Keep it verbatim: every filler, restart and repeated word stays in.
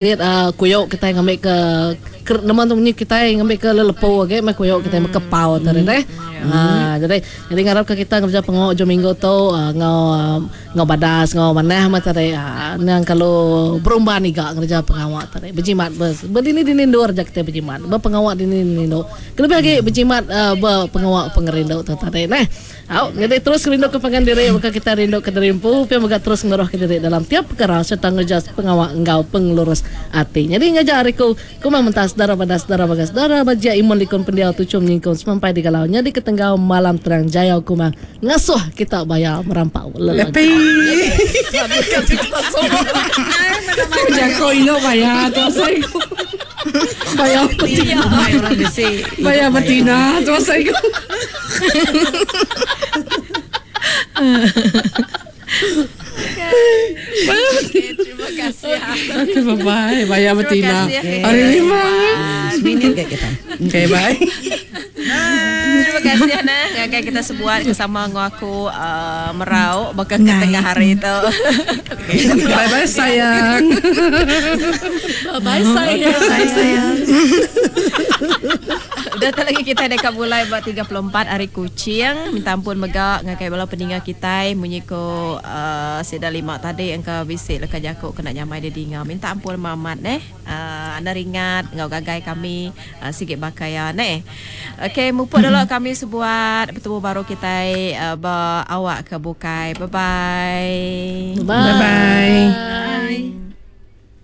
Uh, kuyok kita ngambil ke nama tu munyi kitai ngambil ke lelepu agi meh kuyok kitai mekepau tadi deh. Ha, jadi jadi ngarap ke kita ngerja pengawa ujung minggu tu uh, ngau uh, ngau badas ngau manah mah tadi uh, nang kalau berumban iga ngerja pengawa tadi berjimat bes berdini dini endur ja kita berjimat berpengawa dini dini endur kelebih agi berjimat uh, berpengawa pengerindu tu tadi neh. Au, jadi terus rindu ke pangan diri maka kita rindu ke diri empu pia mega terus ngeroh ke diri dalam tiap perkara serta ngerja pengawa enggau pengelurus ati. Jadi ngajar aku kumang mentas dara badas dara bagas dara bajia imun likun pendiau tuchum nyingkung semampai digalau nyadi ketenggau malam terang jayau kumang ngasuh kita bayar merampau lelaki. Happy. Jako ilo bayar tu saya. Bayar betina. Orang bisi. Bayar betina tu saya. Okay, terima kasih. Okay, bye-bye. Bayar betina. Terima kasih. Hari lima. Minit ke kita. Okay, bye. Terima kasih Ana. Ngagai kita sebuat bersama dengan aku uh, merau baka ke tengah hari tu. Bye-bye sayang. Bye sayang. Bye sayang. Dah tak lagi kita dekat mulai buat tiga puluh empat hari kucing. Minta ampun mega ngagai bala peninga kita munyi ko uh, sida lima tadi engka bisi leka jaku kena nyamai dia dinga. Minta ampun mamat neh. Uh, anda ringat ngau gagai kami uh, sikit bakaya neh. Okey, mupuk dulu kami sebuat bertemu baru kita uh, ba awak ke bukai. Bye bye. Bye. Bye-bye.